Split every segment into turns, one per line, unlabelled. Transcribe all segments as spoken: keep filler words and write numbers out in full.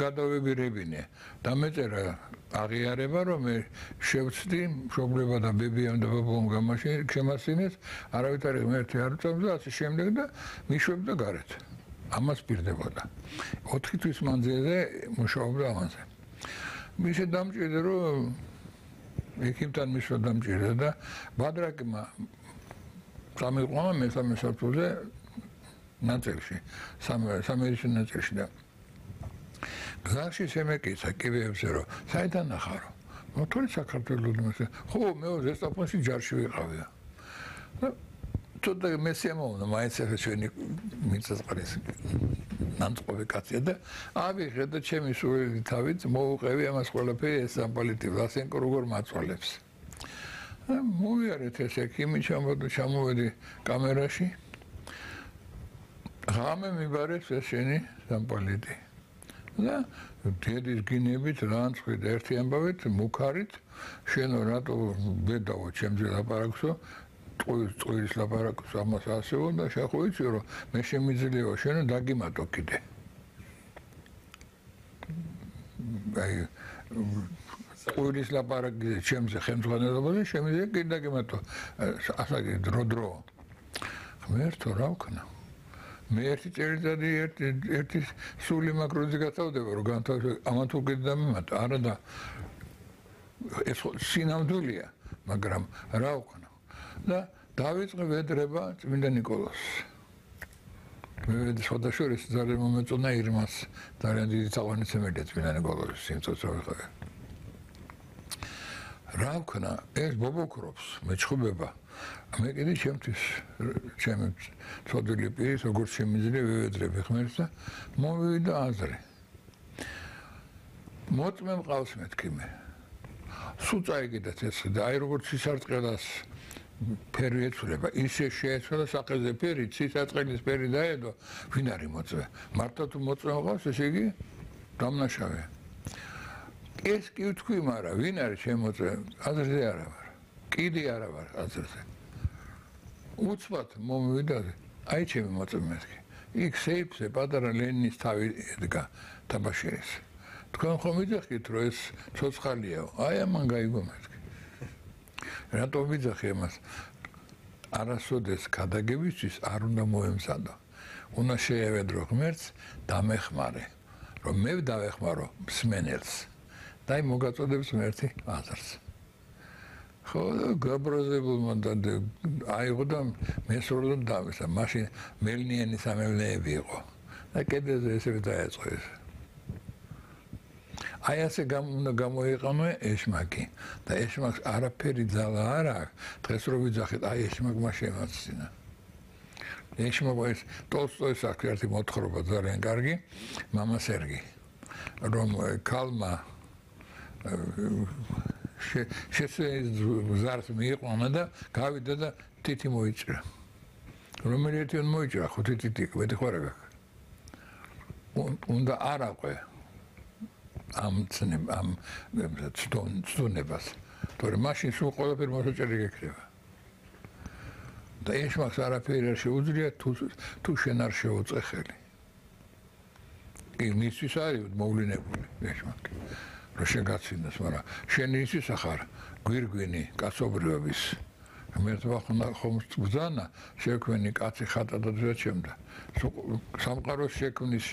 გადავებირებინე და მეწერა აღიარება რომ მე შევცდი მშობლება და ბებიამ და ბაბამ გამაშინეს არავითარი ღმერთი არ უწევს და ასე შემდეგ და მიშვებდა გარეთ ამას პირდებოდა ოთხი თვის მანძილზე მუშაობდა ამაზე მისე დამჭირდა რომ ექიმთან მისვა დამჭირდა და ბადრაკმა სამეყომა მესამე საფუძე ნაწილში სამერის ნაწილში და გზაში შემეკიცა კიბეებზე რომ საიდან ახარო მოთხოვე საქართველოს ხო მე ზესტაფონში ჯარში ვიყავია და თორე მესიამოვნა მაინც ახლა ჩვენი მიწასყრის ნანწყობი კაცია და ავიღე და ჩემი სულელი თავით მოუყევი ამას ყველაფერი ეს სამპალიტი ვლასენკო როგორ მაწვალებს მოვიარეთ ეს ექიმი ჩამოვედი კამერაში ღამე მიბარეს ეს შენი სამპალიტი და დედის გინებით რანცხვით ერთი ამბავით მუქარით შენო რატო ბედაო ჩემზე ლაპარაკსო ტყუილის ლაპარაკს ამას ასეო და შეხოიცი რომ მე შემიძლია შენო დაგიმატო კიდე აი ტყუილის ლაპარაკი ჩემზე ხელმძღვანელობაზე შემიძლია კიდე დაგიმატო ასაკი დრო დრო ღმერთო რა ვქნა მე ერთი წელიწადი ერთი ერთი სული მაკროზე გაწავდება რომ განთავსო ამან თუ კიდე დამემატა არა და ეს სინამდვილეა მაგრამ რა ვქნა და დავიწყე ვედრება წმინდა ნიკოლას მე შედაშორის ძალიან მომეწონა ირმას ძალიან დიდი თაყვანისმცემელია წმინდა ნიკოლას სიმწოც რა ვიყავი რა ვქნა ეს ბობოქრობს მეჩხუბება მე კიდე ჩემთვის ჩემი ცოდვილი პირის როგორც შემიძლია ვევედრები ხმერს და მოვიდა აზრი მოწმე მყავს მეთქი მე სულ წაიგდათ ეს და აი როგორც სისარტყელას ფერი ეცვლება ისე შეეცვლა საყელზე ფერი სისარტყელის ფერი დაედო ვინ არის მოწმე მარტო თუ მოწმე მყავს ესე იგი დამნაშავე ეს კი ვთქვი მაგრამ ვინ არის შემოწმე აზრზე არა ვარ კიდე არა ვარ აზრზე უცბად მომივიდა აი ჩემი მოწმე მეთქი იქ სეიფზე პატარა ლენინის თავი ედგა თაბაშირის თქვენ ხომ ვიძახით რომ ეს ცოცხალიაო აი ამან გაიგო მეთქი რატო ვიძახი ამას არასოდეს გადაგებისთვის არ უნდა მოემზადო უნდა შეევედრო ღმერთს დამეხმარე რომ მე დავეხმარო მსმენელს და აი მოგაწოდებს ღმერთი აზრს ხო გაბრაზებულმა და აიღო და მესროლოდ დავისა მაშინ მელნიანი სამევლეები იყო და კიდეზე ესე დაეწყო ეს აი ასე უნდა გამოიყენო ეშმაკი და ეშმაკს არაფერი ძალა არ აქვს დღეს რო ვიძახეთ აი ეშმაკმა შემაცცინა ეშმაკმა ეს ტოლსტოის აქვს ერთი მოთხრობა ძალიან კარგი მამა სერგი რომ ქალმა შეესწრეს მიიყვანა და გავიდა და თითი მოიჭრა რომელი ერთიან მოიჭრა ხო თითი მეტი ხوار გაქვს უნდა არაყვე ამ ცნებ ამ ცდუნებას თორე მაშინ სულ ყველაფერი მოსაჭრელი გექნება და ეშმაკს არაფერი არ შეუძლია თუ თუ შენ არ შეუწყე ხელი კი მისთვის არის მოვლენებული ეშმაკი რომ შეგაცინოს მაგრამ შენ ისთვის ახარ გვირგვინი კაცობრიობის ღმერთმა ხომ ბრძანა შექმენი კაცი ხატადად შეჩემდა სამყაროს შექმნის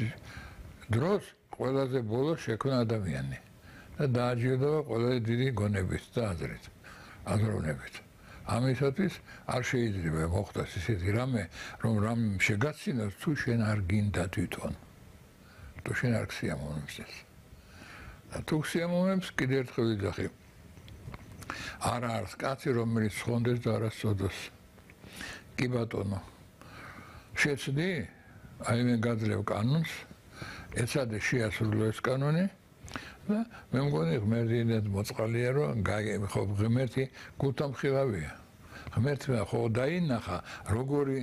დროს ყველაზე ბოლო შექმნა ადამიანი და დააჯილდოვა ყველაზე დიდი გონებით და აზრით აზროვნებით ამისათვის არ შეიძლება მოხდეს ისეთი რამე რომ რამ შეგაცინოს თუ შენ არ გინდა თვითონ თუ შენ არ ქსიამოვნებს ეს თუ ქსიამოვნებს კიდე ერთხელ ვიძახი არა არის კაცი რომელიც ხონდეს და არა სოდოს კი ბატონო შეცდი აი მე გაძლევ კანონს ეცადე შეასრულო ეს კანონი და მე მგონი ღმერთინად მოწყალია რომ ხო ღმერთი გულთამხილავია ღმერთმა ხო დაინახა როგორი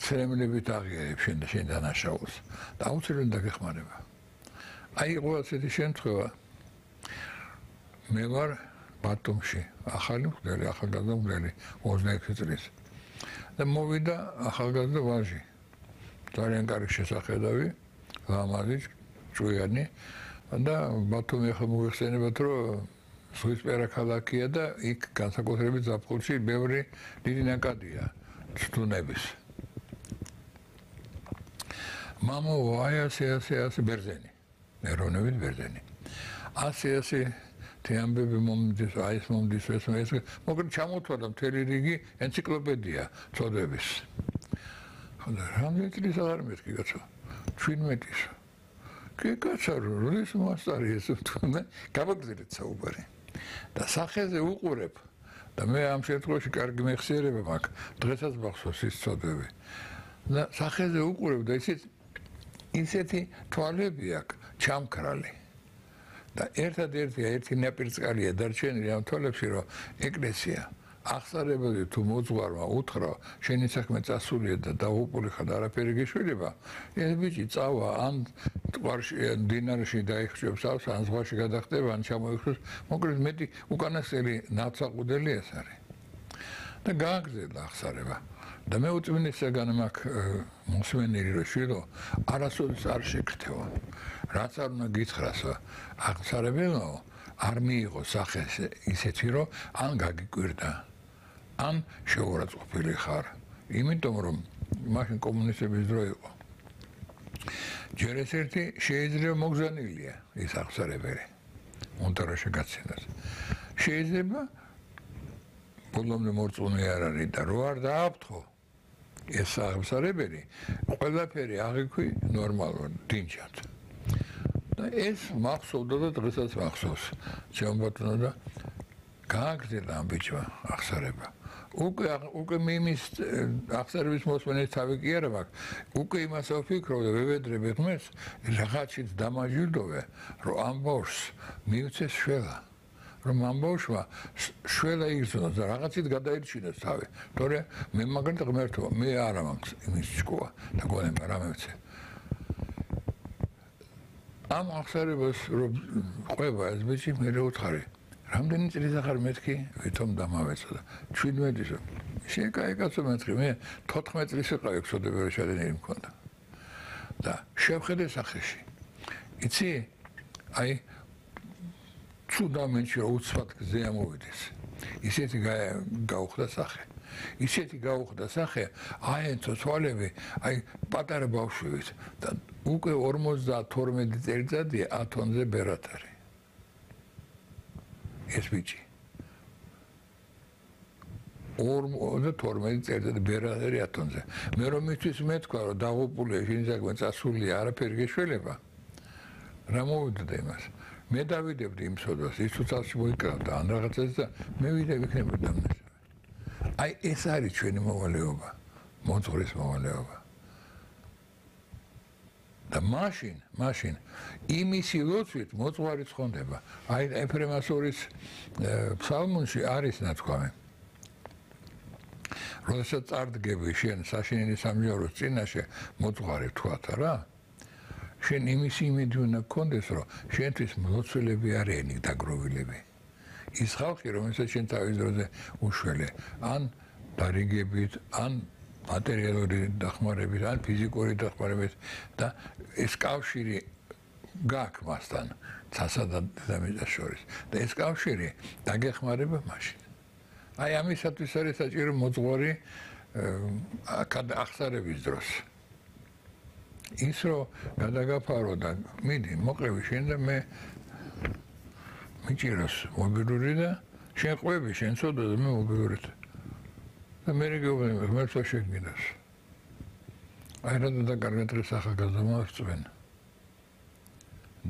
ცრემლებით აღიარებს შენ და შენ დანაშაულს და აუცილებლად დაგეხმარება აი იყო ასეთი შემთხვევა მე ვარ ბათუმში ახალი მღვდელი ახალგაზრდა მღვდელი ოცდაექვსი წლის და მოვიდა ახალგაზრდა ვაჟი ძალიან კარგი შესახედავი ლამაზი ჭუიანი და ბათუმი ახლა მოიხსენებათ, რომ ზღვისპირა ქალაქია და იქ განსაკუთრებით ზაფხულში ბევრი დიდი ნაკადია სტუნების. მამო აი ასე ასე ასე ბერძენი, ეროვნებით ბერძენი. ასე ასე те ამბები მომდის, აი ეს მომდის, ეს ეს მოკლედ ჩამოთვალა მთელი რიგი ენციკლოპედია წოდების. ხოდა რამდენი წლის აღარ მეთქი კაცო? ჩვენმეტის. კი კაცო, როდის მასტარი ეს თქმა, გამოგზილეთ საუბარი. და სახეზე უყურებ და მე ამ შემთხვევაში კარგი მეხსიერება მაქვს, დღესაც მახსოვს ის წოდები. და სახეზე უყურებ და ისეთ ისეთი თვალები აქვს ჩამქრალი. და ერთადერთი ერთი ნაპირწყალია დარჩენილი ამ თვალებში, რომ ეკლესია აღსარებელი თუ მოძღვარმა უთხრა, შენი საქმე წასულია და დაუყული ხარ და არაფერი გეშველება, ეს ბიჭი წავა ან ტყარში, დინარში დაიხშებს ავს, ან ზღვაში გადახტება, ან ჩამოიხსოს, მოკლედ მეტი უკანასკნელი ნაცაყუდელი ეს არის. და გააგზავნა აღსარება. და მე უწმინდესაგან მაქვს მოსმენილი რომ შვილო არასოდეს არ შეგრთევა. რაც არ უნდა გითხრას აღსარებელო არ მიიღო სახე ისეთი რომ ან გაგიკვირდა ან შეურაცხყოფილი ხარ. იმიტომ რომ მაშინ კომუნისტების დრო იყო. ჯერ ეს ერთი შეიძლება მოგზანილია ეს აღსარებელი. უნდა რა შეგაცინოს. შეიძლება ბოლომდე მორწმუნე არ არის და რო არ დააფრთხო ეს აღსარებელი ყველაფერი აღიქვი ნორმალურად დინჯად. და ეს მახსოვდა და დღესაც მახსოვს. ჩემბატონო და გააგრძელა ამ ბიჭმა აღსარება. უკვე უკვე მიმის აღსარების მოსმენის თავი კი არა მაქვს. უკვე იმას ვფიქრობ და ვევედრები ღმერთს რაღაცით დამაჯილდოვე, რომ ამ ბავშვს მივცეს შველა. რომ ამ ბავშვმა შველა იგრძნოს და რაღაცით გადაირჩინოს თავი. თორე მე მაგალითად ღმერთო, მე არა მაქვს იმის ჭკუა და გონება რა მევცე. ამ აღსარებას რომ ყვება ეს ბიჭი მე უთხარი. რამდენი წელი ახარ მეთქი, ვითომ დამავეწოდა. ჩვიდმეტის შეკაი კაცო მეთქი, მე თოთხმეტ წლის ვიყავი ხსოდებები შედენილი მქონდა. და შევხედე სახეში. იცი, აი ცუდამენში უცბად გზე ამოვიდეს. ისეთი გაუხდა სახე. ისეთი გაუხდა სახე, აი თვალები, აი პატარა ბავშვებით და უკვე ორმოცდათორმეტი წელიწადია ათონზე ბერად არის. ეს ბიჭი. ორმოცდათორმეტი წელიწადი ბერად არის ათონზე. მე რომ მისთვის მეთქვა, რომ დაღუპულია, შენი საქმე წასულია, არაფერი გეშველება. რა მოვიდოდა იმას? მე დავიდებდი იმ სოდას, ის უცალში მოიკრავდა ან რაღაცას და მე ვიდე ვიქნებოდი დამნაშავე. აი ეს არის ჩვენი მოვალეობა, მოძღვრის მოვალეობა. და მაშინ, მაშინ იმისი ლოცვით მოძღვარი ცხონდება. აი ეფრემასორის ფსალმუნში არის ნათქვამი. როდესაც წარდგები შენ საშინელი სამჯავროს წინაშე მოძღვარი თქვათ რა. შენ იმისი იმედი უნდა გქონდეს, რომ შენთვის მლოცველები არიან დაგროვილები. ის ხალხი, რომელსაც შენ თავის დროზე უშველე, ან დარიგებით, ან მატერიალური დახმარებით, ან ფიზიკური დახმარებით და ეს კავშირი გაქვს მასთან, ცასა და დედამიწას შორის. და ეს კავშირი დაგეხმარება მაშინ. აი ამისათვის არის საჭირო მოძღვარი აღსარების დროს. ის რომ გადაგაფარო და მიდი მოყევი შენ და მე მიჭიროს მობილური და შენ ყვები შენ ცოდო და მე მობილურით და მე რეგიონი ღმერთს შეგინოს. აი რატომ და კარგი დღეს ახალგაზრდა მოვწვენ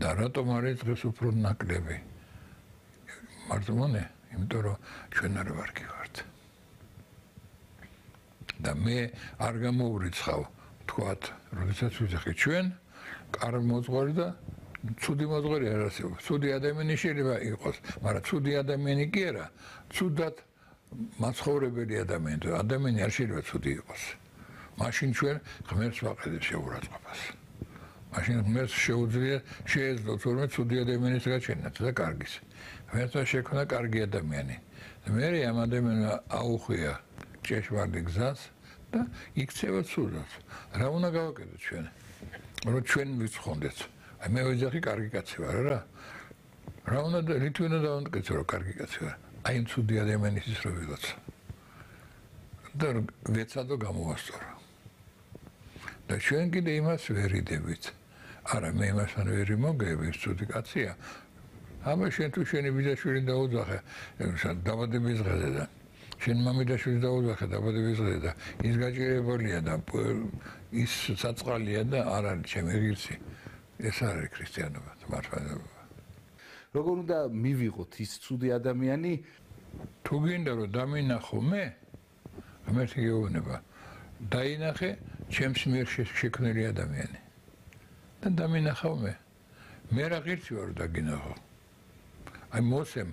და რატომ არის დღეს უფრო ნაკლები მარტომონე იმიტომ რომ ჩვენ არ ვარგი ვართ და მე არ გამოვრიცხავ თქვათ როდესაც ვიძახი ჩვენ კარგი მოძღვარი და ცუდი მოძღვარი არ არსებობს. ცუდი ადამიანი შეიძლება იყოს, მაგრამ ცუდი ადამიანი კი არა, ცუდად მაცხოვრებელი ადამიანი, ადამიანი არ შეიძლება ცუდი იყოს. მაშინ ჩვენ ღმერთს ვაყენებთ შეურაცხყოფას. მაშინ ღმერთს შეუძლია შეეძლო თორმე ცუდი ადამიანის გაჩენათ და კარგის. ღმერთმა შექმნა კარგი ადამიანი. მე ამ ადამიანს აუხვია ჭეშმარიტ გზას და იქცევა ცუდად. რა უნდა გავაკეთოთ ჩვენ? რომ ჩვენ ვიცხონდეთ აი მე ვიძახი კარგი კაცი ვარ რა. რა უნდა რითი უნდა დავამტკიცო რომ კარგი კაცი ვარ. აი იმ ცუდი ადამიანის ის რო ვიღაცა. და ვეცადო გამოვასწორო. და ჩვენ კიდე იმას ვერ იდებით. არა მე იმასთან ვერ იმოგები, ის ცუდი კაცია. აბა შენ თუ შენი ბიძაშვილი დაუძახე, დაბადების დღეზე და შენ მამიდაშვილი დაუძახე დაბადების დღეზე და ის გაჭირებულია და ის საწყალია და არ არის ჩემი ღირსი. ეს არის ქრისტიანობა, მართლობა.
როგორ უნდა მივიღოთ ის ცუდი ადამიანი?
თუ გინდა რომ დამინახო მე, ამერტი გეუბნება, დაინახე ჩემს მიერ შექმნილი ადამიანი. და დამინახავ მე. მე რა ღირსი ვარ დაგინახო. აი მოსემ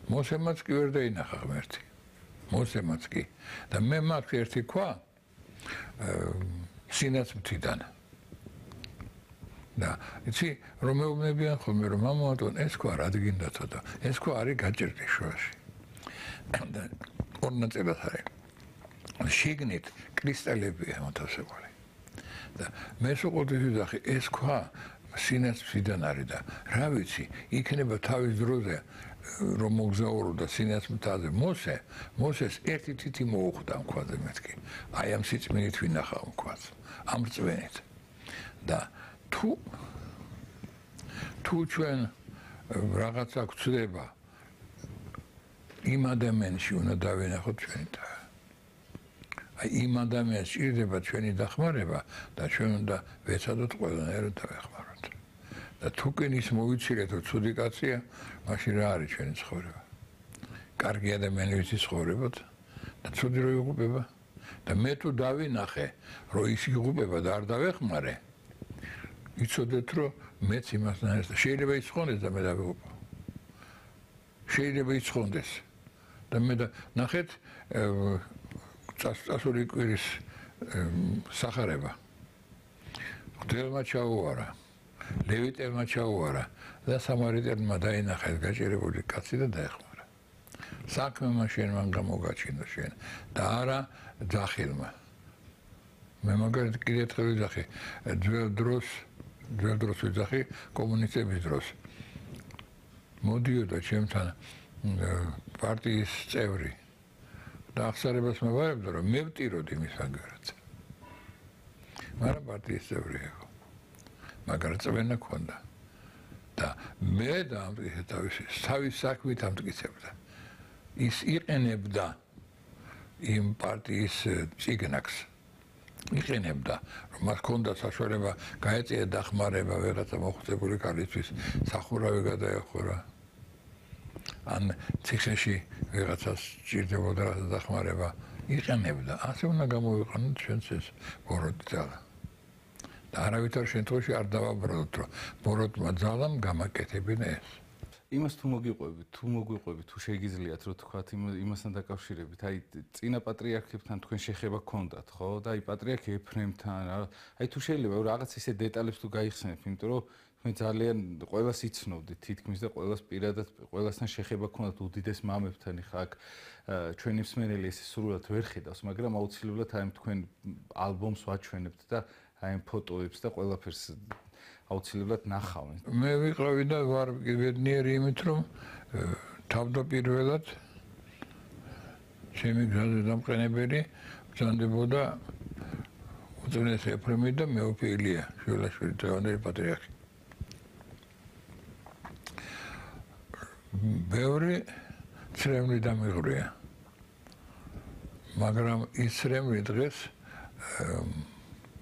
მოსემაც კი ვერ დაინახა ღმერთი. მოსემაც კი. და მე მაქვს ერთი ქვა სინაცმთიდან. და იცი რომ მეუბნებიან ხოლმე რომ მამაატონ ეს ქვა რა გინდაცა და ეს ქვა არის გაჭირდი შუაში. და ორ ნაწილად არის. შიგნით კრისტალებია მოთავსებული. და მე სულ ვიზახი ეს ქვა სინაცმთიდან არის და რა ვიცი იქნება თავის დროზე რომ მოგზაურობდა სინაცმთაზე მოსე მოსეს ერთი თითი მოუხდა ამ ქვაზე მეთქი აი ამ სიწმინით ვინახავ ამ ქვას ამ რწმენით და თუ თუ ჩვენ რაღაცა გვწდება იმ ადამიანში უნდა დავინახოთ ჩვენი და აი იმ ადამიანს ჭირდება ჩვენი დახმარება და ჩვენ უნდა ვეცადოთ ყველანაირად დავეხმაროთ. და თუ კენის მოვიცილეთ რომ ცუდი კაცია, მაშინ რა არის ჩვენი ცხოვრება? კარგი ადამიანის ცხოვრებოთ და ცუდი რო იღუპება და მე თუ დავინახე რომ ის იღუპება და არ დავეხმარე, იცოდეთ რომ მეც იმასთან ერთად შეიძლება იცხონდეს და მე დავიღუპო. შეიძლება იცხონდეს და მე და ნახეთ წასული კვირის სახარება. ღვთელმა ჩაუარა, ლევიტელმა ჩაუარა და სამარიტელმა დაინახა ეს გაჭირებული კაცი და დაეხმარა. საქმემა შენ მან გამოგაჩინო შენ და არა ძახილმა. მე მაგალითად კიდე ერთხელ ვიძახი, ძველ დროს, ძველ დროს ვიძახი კომუნისტების დროს. მოდიოდა ჩემთან პარტიის წევრი. და აღსარებას მოვარებდა რომ მე ვტიროდი მის აგერად. მაგრამ პარტიის წევრი იყო. მაგრამ წვენა ქონდა. და მე დამტკიცე თავისი თავის საქმით ამტკიცებდა. ის იყენებდა იმ პარტიის ციგნაკს. იყენებდა რომ მას ქონდა საშუალება გაეწია დახმარება ვიღაცა მოხუცებული ქალისთვის სახურავი გადაეხურა. ან ციხეში ვიღაცას ჭირდებოდა დახმარება იყენებდა. ასე უნდა გამოვიყენოთ ჩვენც ეს ბოროტი ძალა. და არავითარ შემთხვევაში არ დავაბრალოთ, რომ ბოროტმა ძალამ გამაკეთებინა ეს.
იმას თუ მოგიყვებით, თუ მოგვიყვებით, თუ შეგიძლიათ რო თქვათ იმასთან დაკავშირებით, აი წინა პატრიარქებთან თქვენ შეხება გქონდათ, ხო? და აი პატრიარქ ეფრემთან, აი თუ შეიძლება რაღაც ისე დეტალებს თუ გაიხსენებთ, იმიტომ რომ მე ძალიან ყველას იცნობდით თითქმის და ყველას პირადად ყველასთან შეხება გქონდათ უდიდეს მამებთან, ხა აქ ჩვენი მსმენელი ესე სრულად ვერ ხედავს, მაგრამ აუცილებლად აი თქვენ ალბომს ვაჩვენებთ და აი ფოტოებს და ყველაფერს აუცილებლად ნახავენ.
მე ვიყავი და ვარ ბედნიერი იმით, რომ თავდაპირველად ჩემი გზაზე დამყენებელი ბრძანდებოდა უწმინდეს ეფრემი და მეუფე ილია შვილაშვილი დღევანდელი პატრიარქი. ბევრი ცრემლი დამიღვრია. მაგრამ ის ცრემლი დღეს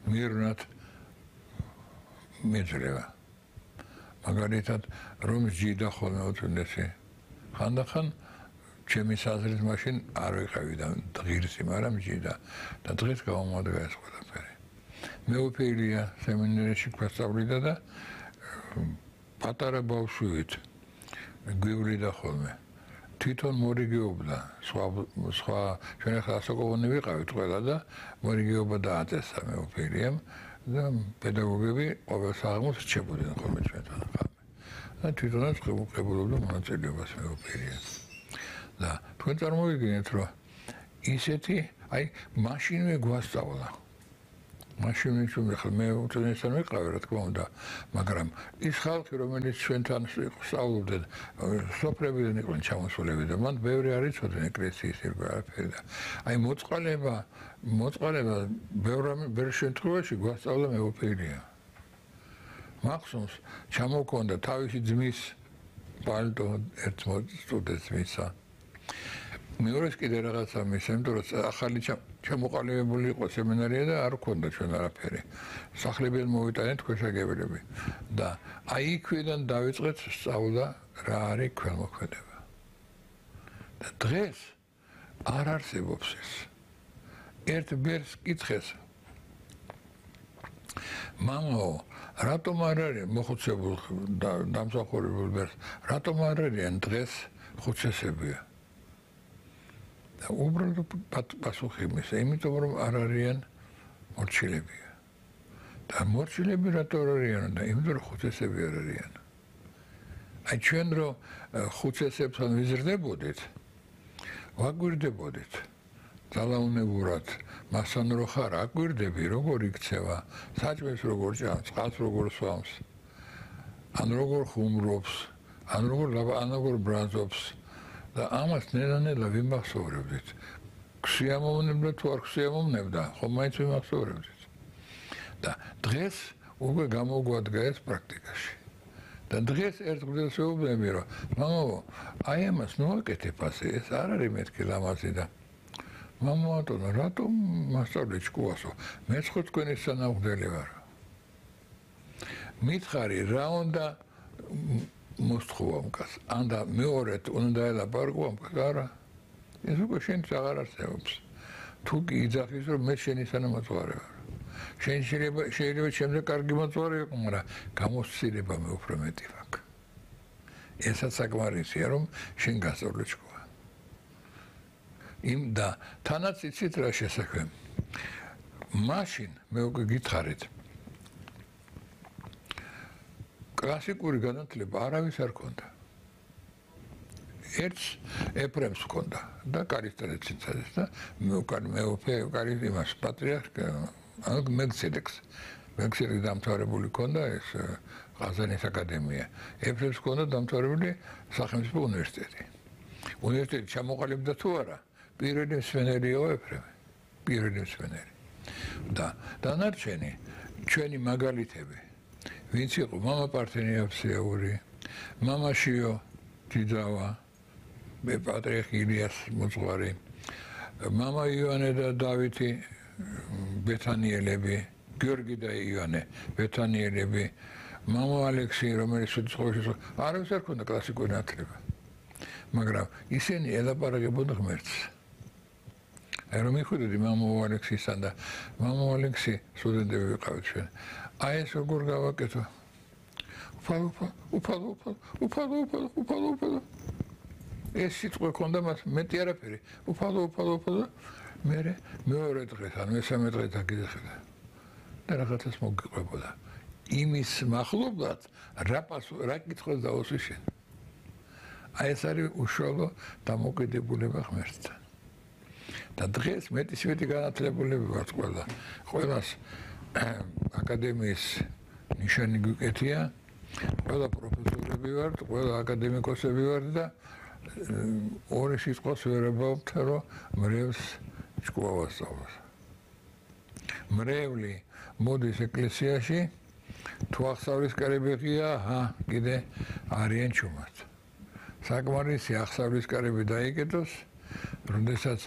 მირნად მეძრევა. მაგალითად, რომ ჯიდა ხოლმე უწმინდესი. ხანდახან ჩემი საზრით მაშინ არ ვიყავი და ღირსი, მაგრამ ჯიდა და დღეს გავამოადგა ეს ყველაფერი. მეუფე ილია სემინარიაში გვასწავლიდა და პატარა ბავშვით გვივლიდა ხოლმე. თვითონ მორიგეობდა, სხვა სხვა ჩვენ ახლა ასაკოვანი ვიყავით ყველა და მორიგეობა დააწესა მეუფე ილიამ და პედაგოგები ყოველ საღამოს რჩებოდნენ ხოლმე ჩვენთან ხამე. და თვითონაც ხებულობდა მონაწილეობას მეუფე ილიამ. და თქვენ წარმოვიდგინეთ, რომ ისეთი, აი, მაშინვე გვასწავლა. მაშინ ვიჩვენე ხა მე უწესთან ვიყავი რა თქმა უნდა, მაგრამ ის ხალხი რომელიც ჩვენთან სწავლობდნენ, სოფლებიდან იყვნენ ჩამოსულები და მან ბევრი არ იცოდნენ ეკლესიის ირგვლივ არაფერი და აი მოწყალება, მოწყალება ბევრ ბევრ შემთხვევაში გვასწავლა მეუფეირია. მახსოვს ჩამოქონდა თავისი ძმის პალტო ერთ სტუდენტს მისა. მეორეს კიდე რაღაცა მის, იმიტომ რომ ახალი ჩამოყალიბებული იყო სემინარია და არ ქონდა ჩვენ არაფერი. სახლებიდან მოვიტანეთ ქვეშაგებელები და აი იქიდან დავიწყეთ სწავლა რა არის ქველმოქმედება. და დღეს არ არსებობს ეს. ერთ ბერს კითხეს მამაო, რატომ არ არის მოხუცებულ და დამსახურებულ ბერს, რატომ არ არიან დღეს ხუცესებია? და უბრალოდ პასუხი მისცა, იმიტომ რომ არ არიან მორჩილებია. და მორჩილები რატო არ არიან და იმიტომ რომ ხუცესები არ არიან. აი ჩვენ რომ ხუცესებთან ვიზრდებოდით, ვაგვირდებოდით. ძალაუნებურად, მასთან რო ხარ, აგვირდები, როგორ იქცევა, საჭმელს როგორ ჭამს, წყალს როგორ სვამს, ან როგორ ხუმრობს, ან როგორ ან როგორ ბრაზობს. და ამას ნელა-ნელა ვიმახსოვრებდით. ქსიამოვნებდა თუ არ ქსიამოვნებდა, ხომ მაინც ვიმახსოვრებდით. და დღეს უკვე გამოგვადგა ეს პრაქტიკაში. და დღეს ერთ დღეს ვეუბნები, რომ მამაო, აი ამას ნოაკეთებ ასე, ეს არ არის მეთქი ლამაზი და მამა ატონა, რატომ მასწავლე ჭკუასო? მეც ხო თქვენი სანაღვდელი ვარ. მითხარი რა უნდა მოსთხოვა მკაც, ან და მეორედ უნდა ელაპარაკო მკაც, არა. ეს უკვე შენც აღარ არსებობს. თუ კი იძახის, რომ მე შენი სანამოწვარე ვარ. შენ შეიძლება შეიძლება შემდეგ კარგი მოწვარე იყო, მაგრამ გამოსცილება მე უფრო მეტი ვაქვს. ესაც საკმარისია, რომ შენ გასწავლე ჭკუა. იმ და თანაც იცით რა შესაქმე. მაშინ მე უკვე გითხარით. კლასიკური განათლება არავის არ ქონდა. ერთს ეფრემს ჰქონდა და კარისტრეც იცადეს და მე უკვე მე უკვე კარი იმას პატრიარქ ანუ მელქისედეკს მელქისედეკს დამთავრებული ჰქონდა ეს ყაზანის აკადემია. ეფრემს ჰქონდა დამთავრებული სახელმწიფო უნივერსიტეტი. უნივერსიტეტი ჩამოყალიბდა თუ არა? პირველი მსვენელია ეფრემი. პირველი მსვენელი. და დანარჩენი ჩვენი მაგალითები ვინც იყო მამა პართენიავსეური, მამა შიო ჯიძავა, მე პატრიარქ ილიას მოძღვარი, მამა ივანე და დავითი ბეთანიელები, გიორგი და ივანე ბეთანიელები, მამა ალექსი, რომელიც სუცხოვში არავის არ ქონდა კლასიკური განათლება. მაგრამ ისინი ელაპარაკებოდნენ ღმერთს. აი რომ მიხვდები მამა ალექსისთან და მამა ალექსი სტუდენტები ვიყავით ჩვენ. აი ეს როგორ გავაკეთო? უფალო, უფალო, უფალო, უფალო, უფალო, უფალო. ეს სიტყვა ქონდა მას მეტი არაფერი. უფალო, უფალო, უფალო. მე მეორე დღეს ან მესამე დღეს დაგიძახდა. და რაღაცას მოგიყვებოდა. იმის მახლობლად რა პასუხი, რა კითხვას დაუსვი შენ. აი ეს არის უშუალო დამოკიდებულება ღმერთთან. და დღეს მეტისმეტი განათლებულები ვართ ყველა. ყველას აკადემიის ნიშანი გვიკეთია, ყველა პროფესორები ვართ, ყველა აკადემიკოსები ვართ და ორი სიტყვას ვერ აბავთ, რომ მრევლს ჭკუა ვასწავლოს. მრევლი მოდის ეკლესიაში, თუ აღსავლის კარები ღია, კიდე არიან ჩუმად. საკმარისი აღსავლის კარები დაიკეტოს, როდესაც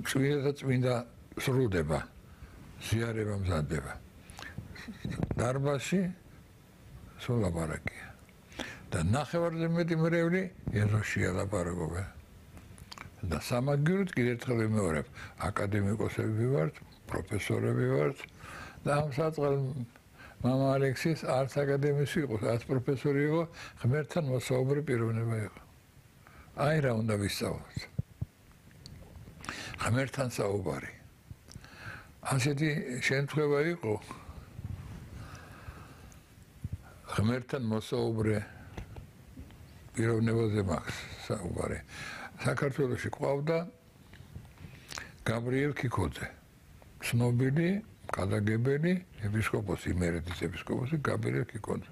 წმინდა და წმინდა სრულდება, ზიარება მზადდება. დარბაზში სულ ლაპარაკია. და ნახევარზე მეტი მრევლი ეზოში ლაპარაკობენ. და სამაგიეროდ კიდევ ერთხელ ვიმეორებ, აკადემიკოსები ვართ, პროფესორები ვართ და ამ საწყალ მამა ალექსის არც აკადემიის იყო, არც პროფესორი იყო, ღმერთთან მოსაუბრე პიროვნება იყო. აი რა უნდა ვისწავლოთ. ღმერთთან საუბარი. ასეთი შემთხვევა იყო. ღმერთთან მოსაუბრე პიროვნებაზე მაქვს საუბარი. საქართველოში ყავდა გაბრიელ ქიქოძე. ცნობილი კადაგებელი ეპისკოპოსი, იმერეთის ეპისკოპოსი გაბრიელ კიკოძე.